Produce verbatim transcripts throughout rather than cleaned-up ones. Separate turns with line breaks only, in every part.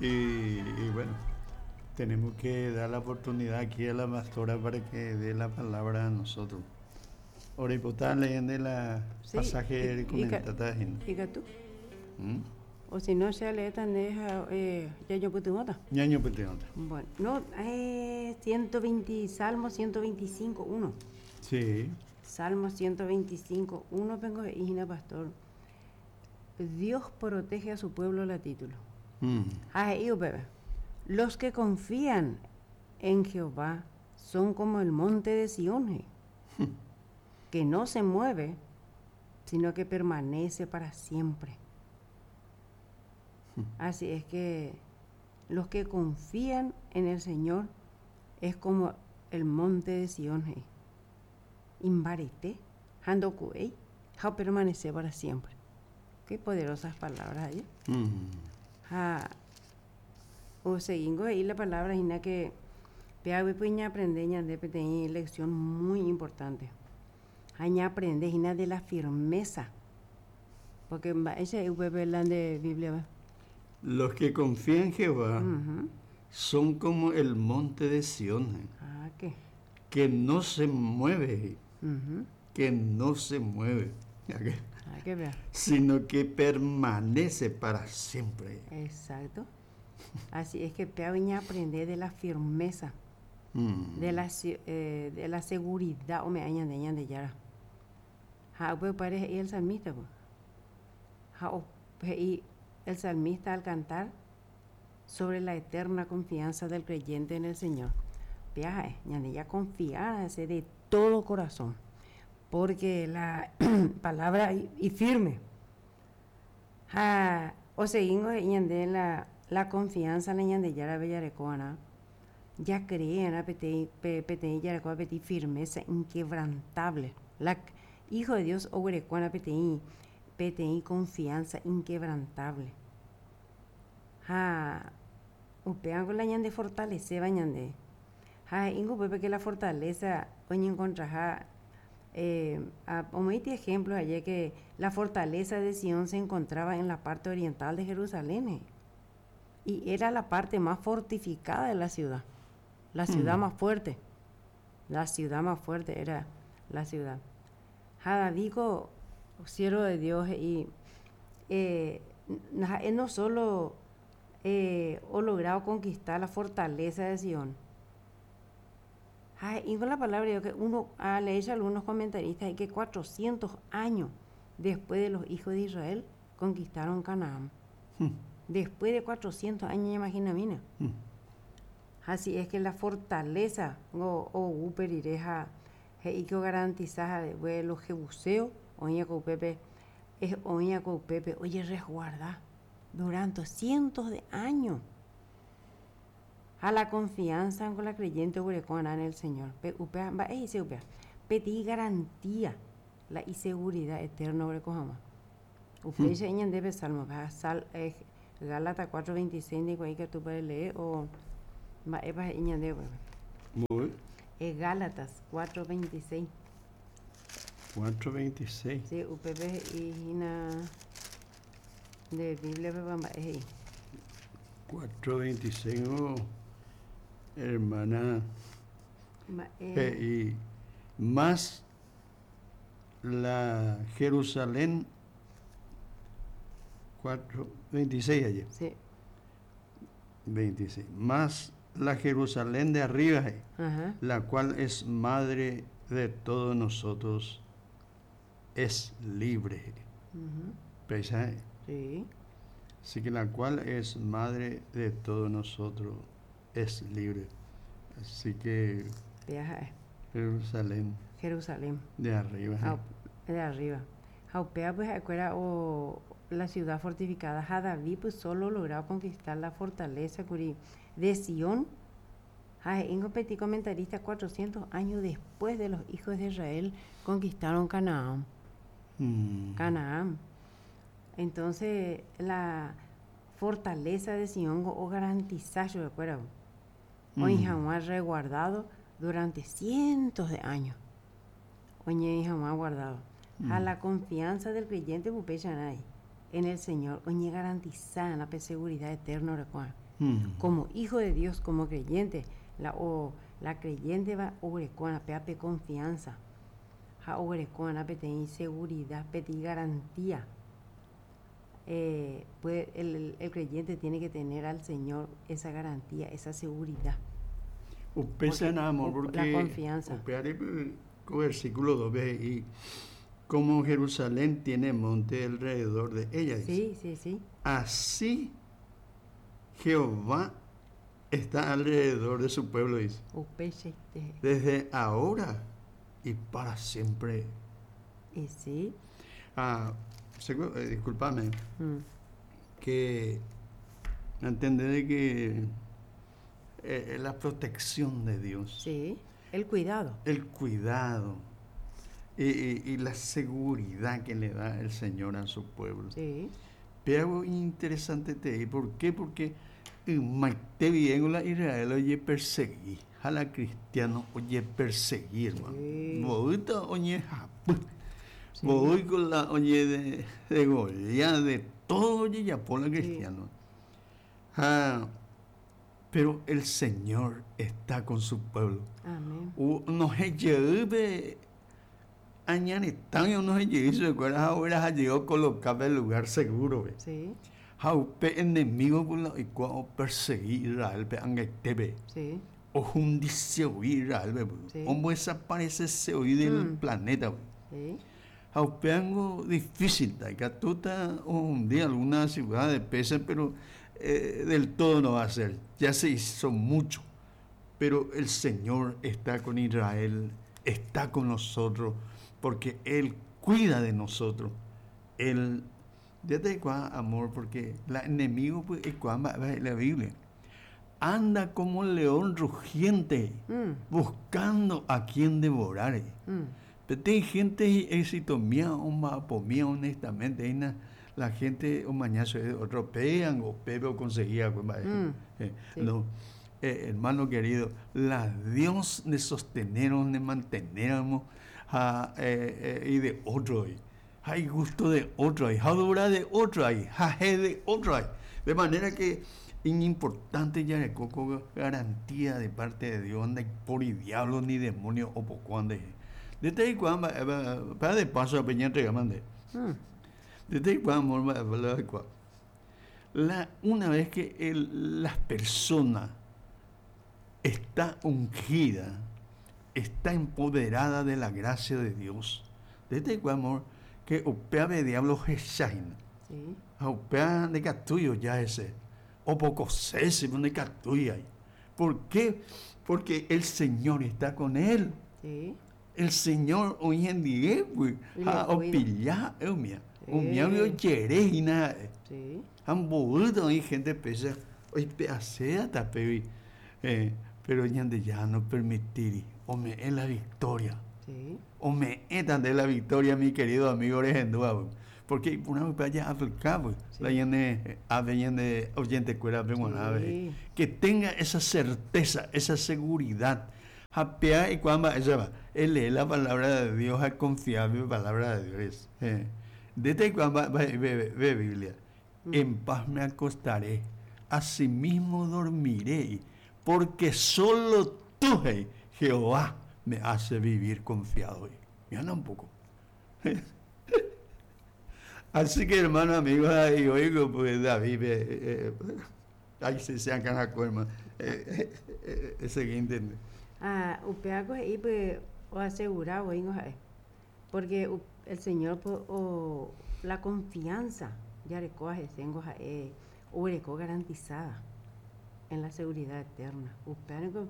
Y, y bueno, tenemos que dar la oportunidad aquí a la pastora para que dé la palabra a nosotros. Oripota leyendo la
Sí,
pasaje
y-
de
y
comentada.
Ikatu.
¿Mm?
O si no, se lee también eh, ñañopytyvõta.
Ñañopytyvõta.
Bueno, no, eh, ciento veinte, Salmo ciento veinticinco, uno.
Sí.
Salmo ciento veinticinco, uno, vengo de hína, pastor. Dios protege a su pueblo, la título.
Mm.
Ah, y bebé. Los que confían en Jehová son como el monte de Sión, eh, que no se mueve, sino que permanece para siempre. Así es que los que confían en el Señor es como el monte de Sión, eh. Imbarete, ndoku'éi, ha permanece para siempre. Qué poderosas palabras ahí.
Mm.
Ha, o seguimos ahí la palabra hína que péagui pues ñaaprende ñande peteĩ lección muy importante. Ha ñaaprende hína de la firmeza. Porque ese es la de Biblia.
Los que confían en Jehová
Ujú.
Son como el monte de Sión,
Ah, ¿qué?
Que no se mueve,
Ujú.
Que no se mueve, ¿Ya qué?
Ah, que vea.
Sino que permanece para siempre.
Exacto. Así es que péagui ñaaprende de la firmeza,
Mm.
de la, si- eh, de la seguridad, ome'ẽva ñande Ñandejára. Ha, pues parece el salmista, pues. Ha, o- y el salmista al cantar sobre la eterna confianza del creyente en el Señor. Viaja, ñande confiar de todo corazón, porque la palabra y, y firme. Ha, o seguimos ñande la, la confianza la Ñandejára jareko'arã. Ya creen peteĩ peteĩ jarekóva peteĩ firmeza inquebrantable. La hijo de Dios oguerekóna peteĩ peteĩ confianza inquebrantable. Ha upévango la ñande fortaleceva ñande. Ha he'íngo upépe que la fortaleza oñencontraha eh, a, omoĩti ejemplo ayer que la fortaleza de Sion se encontraba en la parte oriental de Jerusalén, eh, y era la parte más fortificada de la ciudad, la ciudad
Mm.
más fuerte, la ciudad más fuerte era la ciudad. Ha Davidko, siervo de Dios, y eh, él no solo eh, ha logrado conquistar la fortaleza de Sion. Y con la palabra de Dios que uno ha leído algunos comentaristas que cuatrocientos años después de los hijos de Israel conquistaron Canaán.
Hmm.
Después de cuatrocientos años, imagina, mina.
Hmm.
Así es que la fortaleza o o uperireja he'i que garantiza de los jebuseos oĩa ko upépe es oĩa ko upépe oye resguarda durante cientos de años a la confianza con la creyente oguerekó'arã en el Señor. Pe upéva mba'e he'ise upéva peteĩ garantía la inseguridad eterna oguereko hag̃ua upéicha hmm. Ñandéve Salmo sal eh, Gálatas cuatro veintiséis ndikuaa ikatu lee o mba'épa he'i ñandéve.
Muy.
Eh, Gálatas cuatro veintiséis.
cuatro veintiséis.
Sí, upépe he'i hína de Biblia pepa mba'e he'i.
cuatro veintiséis, oh, hermana.
Mba'e
Eh, y más la Jerusalén cuatro veintiséis ayer.
Sí.
veintiséis. Más la Jerusalén de arriba, eh,
Ajá.
la cual es madre de todos nosotros, es libre.
Ujú.
¿Pensáis?
Sí.
Así que la cual es madre de todos nosotros es libre. Así que
Viaja
Jerusalén
Jerusalén.
De arriba.
Ha, de arriba. Ha upéva pues acuerda o la ciudad fortificada. Ha David pues solo logrado conquistar la fortaleza kuri de Sion. Ha he'íngo peteĩ comentarista cuatrocientos años después de los hijos de Israel conquistaron Canaán.
Mm.
Canaán. Entonces, la fortaleza de Sion o garantizar, yo recuerdo,
Mm.
oĩ resguardado durante cientos de años. Oĩ guardado. A
Mm.
la confianza del creyente upéicharãi en el Señor, oĩ garantizada la seguridad eterna recuerda.
Mm.
Como hijo de Dios, como creyente, la, o, la creyente va oguerekóna péape confianza ha oguerekóna peteĩ seguridad, peteĩ garantía. Eh, puede, el, el, el creyente tiene que tener al Señor esa garantía, esa seguridad.
Upéicha amor,
Porque
porque
la confianza.
Upéare versículo dos y como Jerusalén tiene monte alrededor de ella, dice.
Sí, sí, sí.
Así Jehová está alrededor de su pueblo, dice.
Upeichaite.
Desde ahora y para siempre.
Y sí.
Ah, segu- eh, discúlpame,
Mm.
que entender de que eh, la protección de Dios,
Sí, el cuidado.
el cuidado y, y- y la seguridad que le da el Señor a su pueblo.
Sí.
Pero algo interesante te digo, ¿por qué? Porque te bien la Israel oye perseguí, a la cristiano oye perseguir, hermano.
Sí.
Voy oye japú.
Sí.
Voy con la oye de, de Goliat, de todo oye ya por la
Sí.
cristiano. Ah, pero el Señor está con su pueblo.
Amén.
U- no se lleve añaretán, no se lleve, se acuerda ahora llegó a colocar el lugar seguro. Ve.
Sí,
Jaupe enemigo por la y cuando perseguir Israel, pe angaitebe.
sí,
O jundice Israel, ve,
Sí.
Homo desaparece se oí del
Mm.
planeta. Ve.
sí.
Jaupe algo difícil, ta, o un día alguna ciudad de pesa, pero eh, del todo no va a ser. Ya se hizo mucho. Pero el Señor está con Israel, está con nosotros, porque Él cuida de nosotros. Él, ya te digo, amor, porque el enemigo, pues, es cua, va, va, la Biblia, anda como león rugiente,
Mm,
buscando a quien devorar.
mm.
Pero hay gente éxito mía, o mapomía, honestamente, hay una, la gente o mañana se atropellan o bebe o conseguía, pues, va,
Mm,
eh,
sí.
no. Eh, hermano querido, la Dios de sostenernos, de mantenernos, ah, eh, eh, y de otro, y hay gusto de otro, hay jadura de otro, hay jaje de otro, hay. De manera que es importante ya de coco garantía de parte de Dios, anda por y diablo ni demonio o poco ande. Desde ahí cuando, eh, va, para de paso a Peña entrega, mande.
Mm.
Desde ahí cuando, amor, va, va, va, va. La, una vez que el, la persona está ungida, está empoderada de la gracia de Dios, desde cuando, amor, que opea de diablo jesaina,
Sí.
opea de catuyo ya ese, o poco cese de catuya. ¿Por qué? Porque el Señor está con él.
Sí.
El Señor hoy en día, pues,
Y lo
a
cuida.
opillá, eumia.
Sí.
Umia vio cherejina.
Sí.
Han hay gente pesa, hoy peacea tapevi. Eh, pero ñande ya no permitir, o me es la victoria.
Sí.
O me es de la victoria, mi querido amigo Orejendúa, porque una vez allá África, pues,
Sí.
la yende, ave yende, oyente cuera, pe, bueno, ave.
Sí.
Que tenga esa certeza, esa seguridad. Japea y cuando ella va, él lee la palabra de Dios, a confiar en la palabra de Dios. Eh. Desde cuando va, va, ve, ve, ve Biblia,
Mm.
en paz me acostaré, asimismo dormiré, porque solo tú, hey, Jehová, me hace vivir confiado. Mira un poco. Así que, hermano, amigo, ahí oigo, pues David, eh, eh, ahí se sacan la cuerma. Eh, eh, eh, eh, siguiente.
Ah, upeaco ahí, pues, o asegurado, oigo, eh, porque u- el Señor, pues, o la confianza, ya recoge, tengo, eh, o garantizada en la seguridad eterna. Upeaco,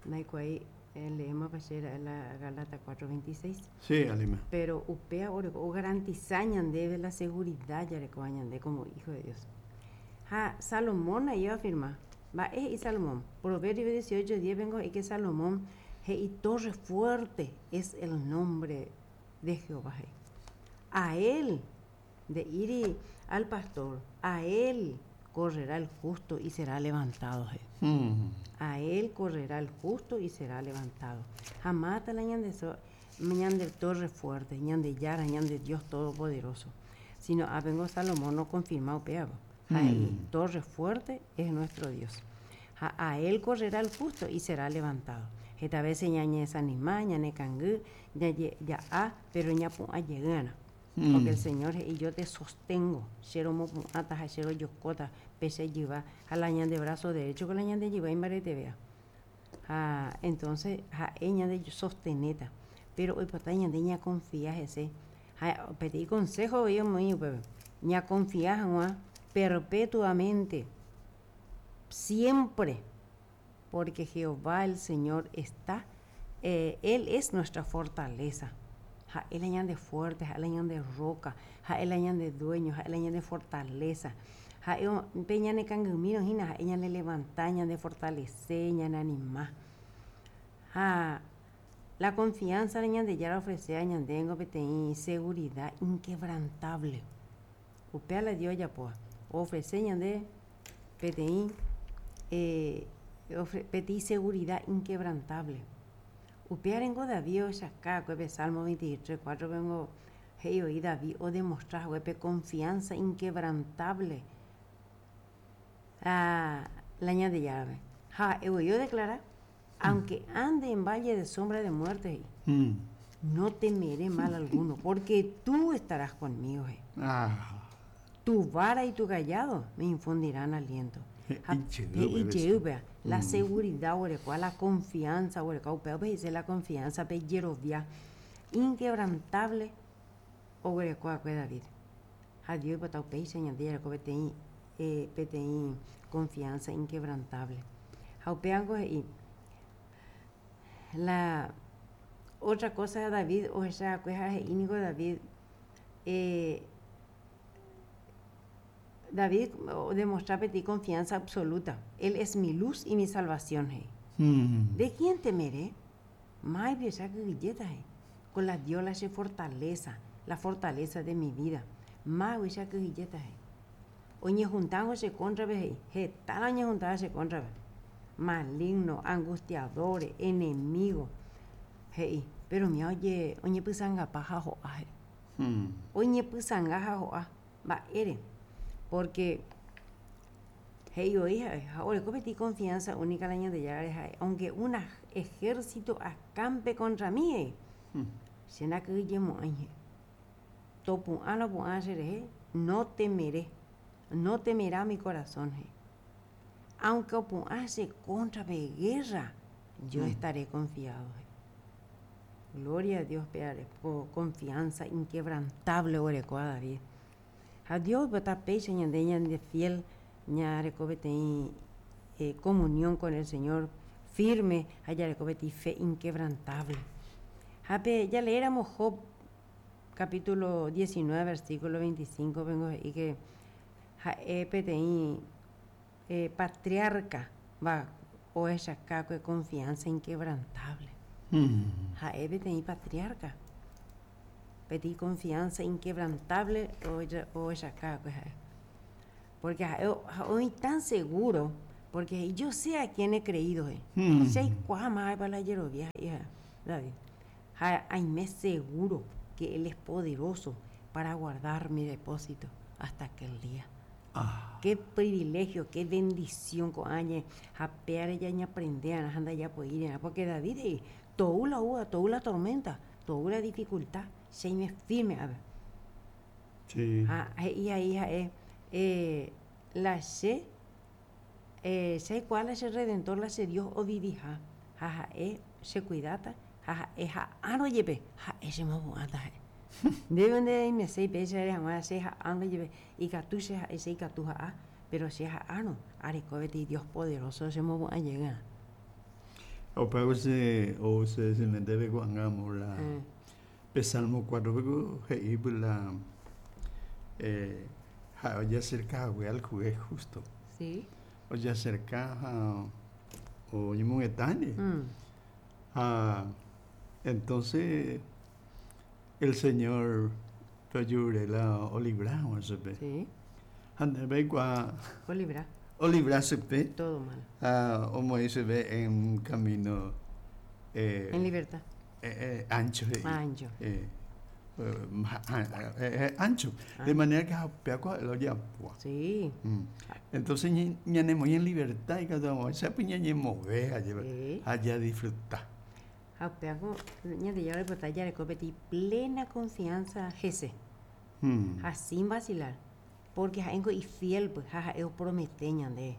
naico ahí, eh, leemos pa la Galata cuatro veintiséis.
Sí, Alima.
Pero upea oreko, o garantizar ñande de la seguridad ya recoge ñande como hijo de Dios. Ja, Salomón ahí va a afirmar. Va, es y Salomón. Proverbio dieciocho, diez, vengo y que Salomón, he, y torre fuerte es el nombre de Jehová. He. A él, de ir y al pastor, a él correrá el justo y será levantado. He.
Mm.
A él correrá el justo y será levantado. Jamás te la ñande so, ñande torre fuerte, ñande yara, ñande Dios todopoderoso. Sino, ah, vengo Salomón no confirmado, peabo. Mm. Torre fuerte es nuestro Dios. Ha a él correrá el justo y será levantado. Esta vez ñañe desanima, ñane kangy, ya ya a, pero ñapu'ã jeýna.
Mm.
Porque el Señor y yo te sostengo. Che romopu'ãta ha che rojokóta pe che jyva ha la ñande brazo derecho con la ñande jyva imbaretevea. Ha entonces ha'e ñande sosteneta. Pero oipota ñande ñaconfía hese. Ha peteĩ consejo oĩ omoĩ upépe. Ñaconfía hag̃ua perpetuamente, siempre, porque Jehová el Señor está, eh, Él es nuestra fortaleza. Ha'e la ñande fuerte, ha'e la ñande roca, ha'e la ñande dueño, ha'e la ñande fortaleza. Ha'e pe ñane kangymírõ hína ha'e ñane levanta, ñande fortalece, ñane anima. Ha la confianza de Ñandejára ofrece a ñandéngo peteĩ seguridad inquebrantable. Upéva la Dios ojapóva. Ofrece ñande peteĩ eh, ofre, peteĩ seguridad inquebrantable. Upévarengo David ohechauka pe Salmo veintitrés, cuatro vengo he'i oĩ David odemostra haguépe confianza inquebrantable a la Ñandejárape. Ha voi odeclara, aunque ande en valle de sombra de muerte, he'i,
Mm.
no temeré mal alguno, porque tú estarás conmigo. He'i.
Ah.
Tu vara y tu cayado me infundirán aliento. Ha,
He'i
he'i
jey
jey upéva, la
Mm.
seguridad oguerekóva, la confianza oguerekóva, upéva he'ise la confianza pe jerovia inquebrantable oguerekóva'ekue David. Ha Dios oipota upéicha Ñandejára peteĩ eh, peteĩ confianza inquebrantable. Ha upévango he'i la otra cosa David ohecha'akue ha he'i niko David eh, David demostra peteĩ confianza absoluta. Él es mi luz y mi salvación. He'i.
Mm.
¿De quién temeré? Mai kyhyjéta he'i. Con la Dios la che fortaleza, la fortaleza de mi vida. Mágui kyhyjéta he'i. Oñejuntángo che cóntrape he'i. Heta oñejuntaba che cóntrape. Maligno, angustiadores, enemigo. He'i. Pero mi oye oñepysãngapa ha ho'a he'i.
Mm.
Oñepysãnga ha ho'a. Mba'ére. Porque he'i oĩ ha'e ha oreko peteĩ confianza única la Ñandejára ha'e aunque un ejército acampe contra mí he'i
Mm.
che ndakyhyjemo'ãi he'i. Topu'ã lopu'ã cherehe no temeré, no temerá mi corazón he'i. Aunque opu'ã che cóntrape guerra, yo
Mm.
estaré confiado he'i. Gloria a Dios péare ko confianza inquebrantable oguerekóva David. Ha Dios oipota péicha ñande ñande fiel ñareko peteĩ eh, comunión con el Señor firme ha jareko peteĩ fe inquebrantable. Ha pe ya leéramos Job capítulo diecinueve versículo veinticinco vengo he'i que ha'e peteĩ eh, patriarca va ohechauka confianza inquebrantable.
Mm.
Ha'e peteĩ patriarca. Peteĩ confianza inquebrantable ohechauka ha'e. Porque ha'e oĩ tan seguro, porque yo sé a quién he creído. He'i.
Mm.
Che aikuaa mávapa la jerovia he'i David. Ha aime seguro que él es poderoso para guardar mi depósito hasta aquel día.
Ah.
Qué privilegio, qué bendición ko'áñe ha péare ñaprende ha ndajapoíre porque David he'i tou la uva, tou la tormenta, tou la dificultad, che aime firme ave.
Sí.
Ha he'i ahí ha'e eh, la che eh, che aikuaa la che redentor la che Dios oviviha ha ha'e chekuidáta ha ha'e ha'árõ jepe ha'e chemopu'ãta ha'e. Ndéve ndeaimeséi péicha ere hag̃ua che ha'árõ jepe ikatu che ha'e che ikatu ha'a pero che ha'árõ areko peteĩ Dios poderoso chemopu'ã jeýva.
Upéva se o se se me debe ko'ág̃a la
Mm.
pe Salmo cuatro peko he'i la eh, ha'e ojeacerca hague al juez justo.
Sí.
Ojeacerca ha oñemongetáne.
Mm.
Ha entonces el Señor pe la olibra chupe.
Sí.
Ha ndéve aikuaa
Olibra.
olibra chupe
Todo mal.
ha omoĩ chupe en un camino eh,
En libertad.
eh, eh, ancho he'i.
Ancho.
Eh, eh, más eh, ancho. De manera que lo ya
Sí.
Mm. Entonces, ñane en libertad y cada se ñane allá, allá disfrutar.
Japeaco, ñande ya ya le plena confianza Jese.
Mm.
Sin vacilar. Porque jaengo y fiel, pues, jaja, eo promete ñande.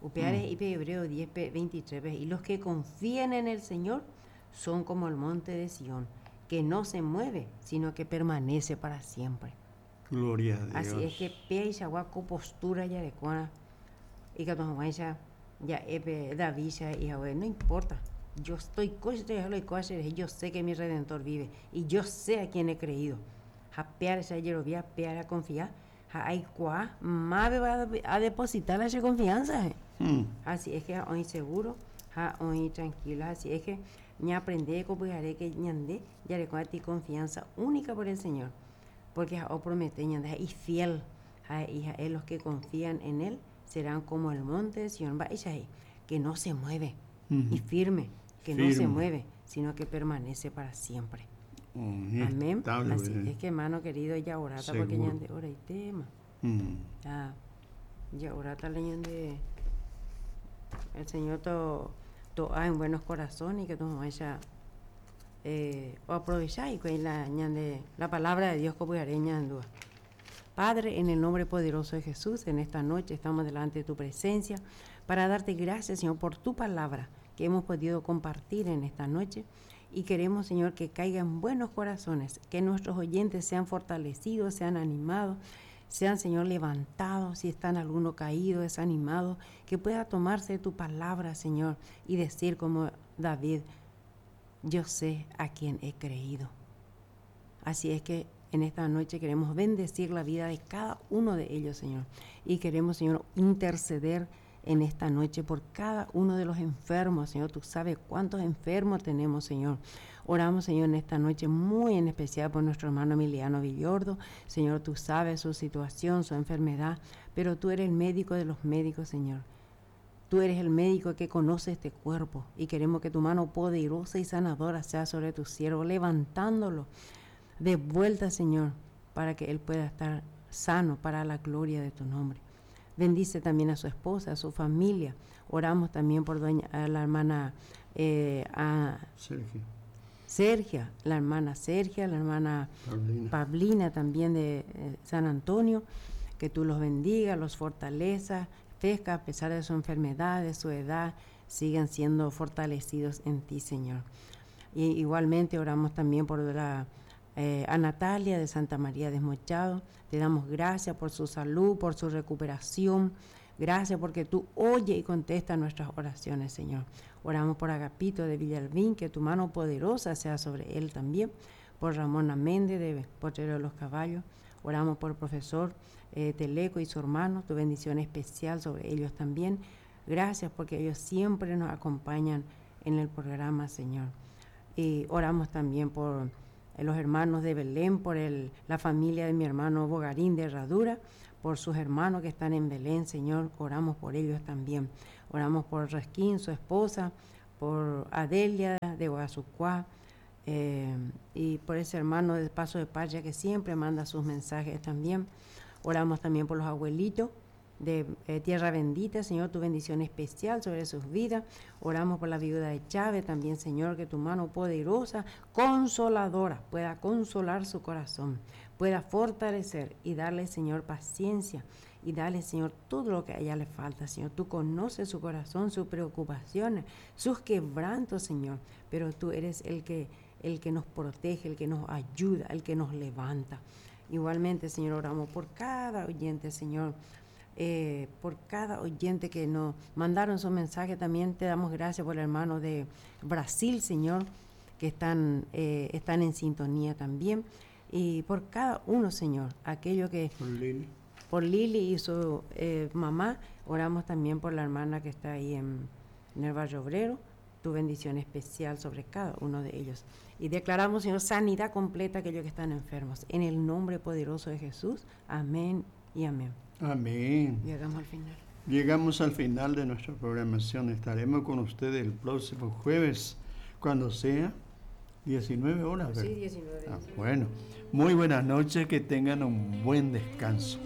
Upeares mm. Hebreo diez, veintitrés, y los que confían en el Señor son como el monte de Sión, que no se mueve, sino que permanece para siempre.
Gloria a Dios.
Así es que pea y con postura ya de cuana, y que ya ya epe David ya y no importa. Yo estoy yo sé que mi Redentor vive y yo sé a quién he creído. Japear esa yerovia, pear a confiar, hay cuá, más va a depositar esa confianza.
Hmm.
Así es que hoy seguro, hoy tranquilo, así es que ña aprende que ñande, ya le ti confianza única por el Señor, porque o promete ñande y fiel, hija, los que confían en él serán como el monte de Sión, va que no se mueve,
uh-huh.
y firme, que
firme.
No se mueve, sino que permanece para siempre.
Mm,
Amén.
Estable,
Así
eh.
es que, hermano querido, ya orata porque ñande ora y tema.
Mm.
Ya, ya orata le ñande el Señor to to en buenos corazones y que tu vaya eh, o aprovechar y con la ñande la palabra de Dios como ñandúa. Padre, en el nombre poderoso de Jesús, en esta noche estamos delante de tu presencia para darte gracias, Señor, por tu palabra que hemos podido compartir en esta noche. Y queremos, Señor, que caiga en buenos corazones, que nuestros oyentes sean fortalecidos, sean animados, sean, Señor, levantados, si están alguno caído, desanimado, que pueda tomarse de tu palabra, Señor, y decir como David, yo sé a quién he creído. Así es que en esta noche queremos bendecir la vida de cada uno de ellos, Señor. Y queremos, Señor, interceder en esta noche por cada uno de los enfermos, Señor. Tú sabes cuántos enfermos tenemos, Señor. Oramos, Señor, en esta noche muy en especial por nuestro hermano Emiliano Villordo. Señor, tú sabes su situación, su enfermedad, pero tú eres el médico de los médicos, Señor. Tú eres el médico que conoce este cuerpo y queremos que tu mano poderosa y sanadora sea sobre tu siervo, levantándolo de vuelta, Señor, para que él pueda estar sano para la gloria de tu nombre. Bendice también a su esposa, a su familia. Oramos también por doña, a la hermana eh, a
Sergio.
Sergia, la hermana Sergia, la hermana
Pablina,
Pablina también de eh, San Antonio. Que tú los bendiga, los fortaleza, pesca a pesar de su enfermedad, de su edad, sigan siendo fortalecidos en ti, Señor. Y igualmente oramos también por la Eh, a Natalia de Santa María de Desmochado. Te damos gracias por su salud, por su recuperación. Gracias porque tú oyes y contestas nuestras oraciones, Señor. Oramos por Agapito de Villalbín, que tu mano poderosa sea sobre él también. Por Ramona Méndez de Potrero de los Caballos. Oramos por el profesor eh, Teleco y su hermano, tu bendición especial sobre ellos también. Gracias porque ellos siempre nos acompañan en el programa, Señor. Y oramos también por los hermanos de Belén, por el, la familia de mi hermano Bogarín de Herradura, por sus hermanos que están en Belén, Señor, oramos por ellos también. Oramos por Resquín, su esposa, por Adelia de Guazucuá, eh, y por ese hermano de Paso de Paya que siempre manda sus mensajes también. Oramos también por los abuelitos de eh, Tierra Bendita, Señor, tu bendición especial sobre sus vidas. Oramos por la viuda de Chávez también, Señor, que tu mano poderosa, consoladora, pueda consolar su corazón, pueda fortalecer y darle, Señor, paciencia y darle, Señor, todo lo que a ella le falta, Señor. Tú conoces su corazón, sus preocupaciones, sus quebrantos, Señor, pero tú eres el que, el que nos protege, el que nos ayuda, el que nos levanta. Igualmente, Señor, oramos por cada oyente, Señor, Eh, por cada oyente que nos mandaron su mensaje. También te damos gracias por el hermano de Brasil, Señor, que están, eh, están en sintonía también. Y por cada uno, Señor, aquello que...
Por Lili.
Por Lili y su eh, mamá. Oramos también por la hermana que está ahí en, en el Barrio Obrero. Tu bendición especial sobre cada uno de ellos. Y declaramos, Señor, sanidad completa a aquellos que están enfermos. En el nombre poderoso de Jesús. Amén y amén.
Amén.
Llegamos al final.
Llegamos al final de nuestra programación. Estaremos con ustedes el próximo jueves, cuando sea diecinueve horas.
Sí, diecinueve.
Ah, bueno, muy buenas noches, que tengan un buen descanso.